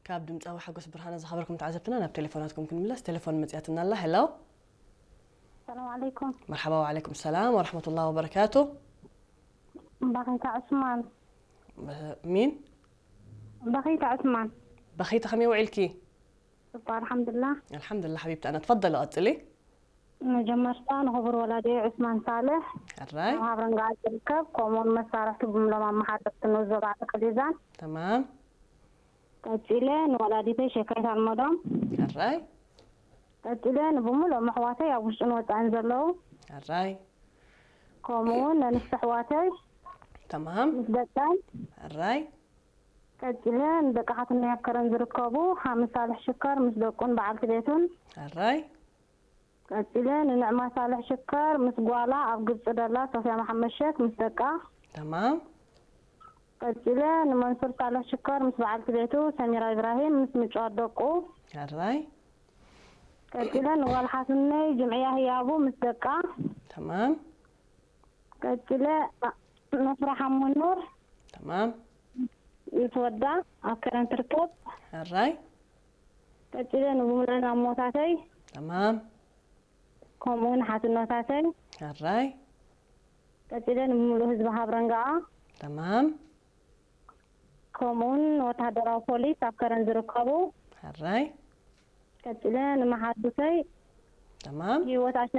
ካብ ድምፃዊ ሓጎስ ብርሃነ ዝኸበርኩም ተዓዘብትና ናብ ቴሌፎናትኩም ክንምለስ። ቴሌፎን መፅያትና ኣላ። ሄሎ። ሰላም ዓለይኩም። መርሓባ፣ ወዓለይኩም ሰላም ወረሕመቱላህ ወበረካቱ። በኺታ ዑስማን። ሚን? በኺታ ዑስማን። በኺታ፣ ከመይ ውዒልኪ? እባ ኣልሓምዱላ። ኣልሓምዱላ ሓቢብቲ፣ ኣነ ትፈደሊ ቀፅሊ። መጀመርታ ንኽቡር ወላዲ ዑስማን ሳልሕ ሕራይ። ኣብ ሃብረንጋ ዝርከብ፣ ከምኡውን መሳርሕቲ ብምሎም ኣመሓደርቲ ንዞባ ቃሊዛን። ተማም። ቀፂለ ንወላዲተይ ሸካይት ኣልመዶም። ሕራይ። ቀፂለ ንብምሎም ኣሕዋተይ ኣብ ውሽጥን ወፃእን ዘለዉ። ሕራይ። ከምኡውን ነንስቲ ኣሕዋተይ ተማም። ምስ ደቀን። ሕራይ። ቀፂለ ንደቂ ሓትነይ ኣብ ከረን ዝርከቡ ሓምስ ሳልሕ ሽከር ምስ ደቁን በዓልቲ ቤቱን። ሕራይ። ቀፂለ ንንዕማ ሳልሕ ሽከር ምስ ጓላ ኣብ ግብፂ ደላ ሶፍያ መሓመድ ሸክ ምስ ደቃ። ተማም። ቀፂለ ንመንሱር ሳልሕ ሽከር ምስ በዓልቲ ቤቱ ሰሚራ ኢብራሂም ምስ ምጭዋት ደቁ። ሕራይ። ቀፂለ ንጓል ሓትነይ ጅምዕያ ህያቡ ምስ ደቃ። ተማም። ቀፂለ ንፍራ ሓሙኑር ተማም። ምስ ወዳ ኣብ ከረን ትርከብ። ሕራይ። ቀፂለ ንብምልአን ኣሞታተይ ተማም። ከምኡ ንሓትኖታተይ። ሕራይ። ቀፂለ ንምሉእ ህዝቢ ሃብረንጋኣ። ተማም። ከምኡውን ወታደራዊ ፖሊስ ኣብ ከረን ዝርከቡ። ሕራይ። ቀፂለ ንመሓዙተይ ተማም። ህይወት ኣሸ